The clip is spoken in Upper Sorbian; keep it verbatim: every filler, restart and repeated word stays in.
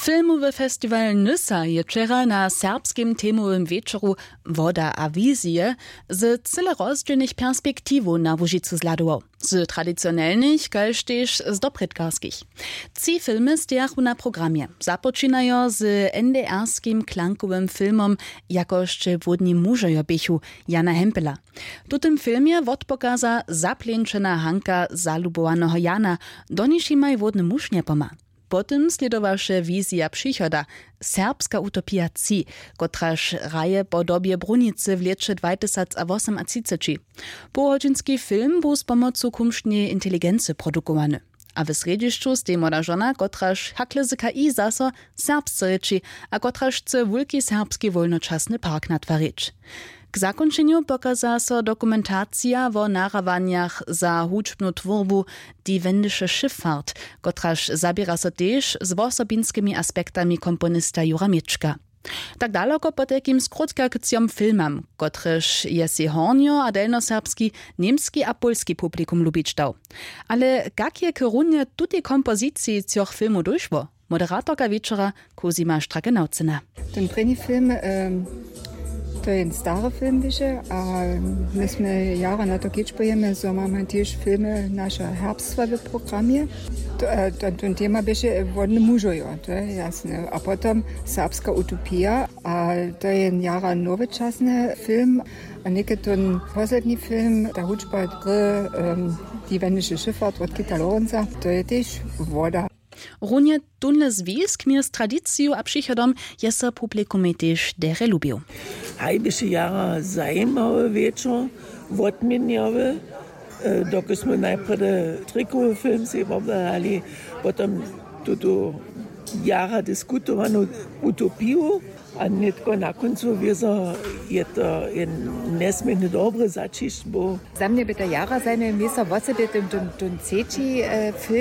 Filmowy festiwal Nysa je wčera na serbskim temowym wječoru Woda a wizije z cyle rozdźělnych perspektiwow na Łužicu zhladował, z tradicionelnych kaž tež z doprědkarskich. Tři filmy stejachu na programje. Započinajo z N D R-skim klankowym filmom Jako sće hłódni mužojo běchu Jana Hempela. W tutym filmje wotpokaza zapleńčena hanka zalubowaneho Jana, doniž jimaj hłódny muž njepomha. Potom slědowaše wizija přichoda, Serbska utopija tři, kotraž hraje po dobje brunicy w lěće dwajtysacwosomatřiceći. Połhodźinski film bu z pomocu kumšneje inteligency produkowany. A w srjedźišću stej młoda žona, kotraž hakle z K I zaso serbsce rěči a kotraž chce wulki serbski wólnočasny park natwarić. K zakónčenju pokaza so dokumentacija wo nahrawanjach za hudźbnu twórbu Die wendische Schifffahrt, kotraž zaběra so tež z wosobinskimi aspektami komponista Jura Měčka. Tak daloko potajkim skrótka k třom filmam, kotrež je sej hornjo a delnjoserbski, němski a pólski publikum lubić dał. Ale kak je k runje tutej kompoziciji třoch filmow dóšło? Moderatorka wječora Cosima Stracke-Naucyna. Ten prěni film, em, to je jen stary film više a my smy jara na to kedźbujemy, zo mamy tež filmy naša herbstwa w programje. To, e, to, ten tema běše wodne mužojo, to je jasne. A potom Serbska utopija, a to je jen jara nowočasny film. A někdy ten posledni film, ta hudźba dry, em, Die wendische Schifffahrt od Kita Lorenza, to je tež woda. Runje tónle zwisk mjez tradiciju a přichodom je so publikumej tež derje lubił. Haj běše jara zajimawy wječor, wotměnjawy, e, dokelž smy najprjedy trikowy film sej wobhladali, potom tutu jara diskutowanu utopiju. A nětko na kóncu wězo je to jen njesměrnje dobry zaćišć był. Za mnje by to jara zajimawy město, wosebje ten, ten, ten třeći, e, film.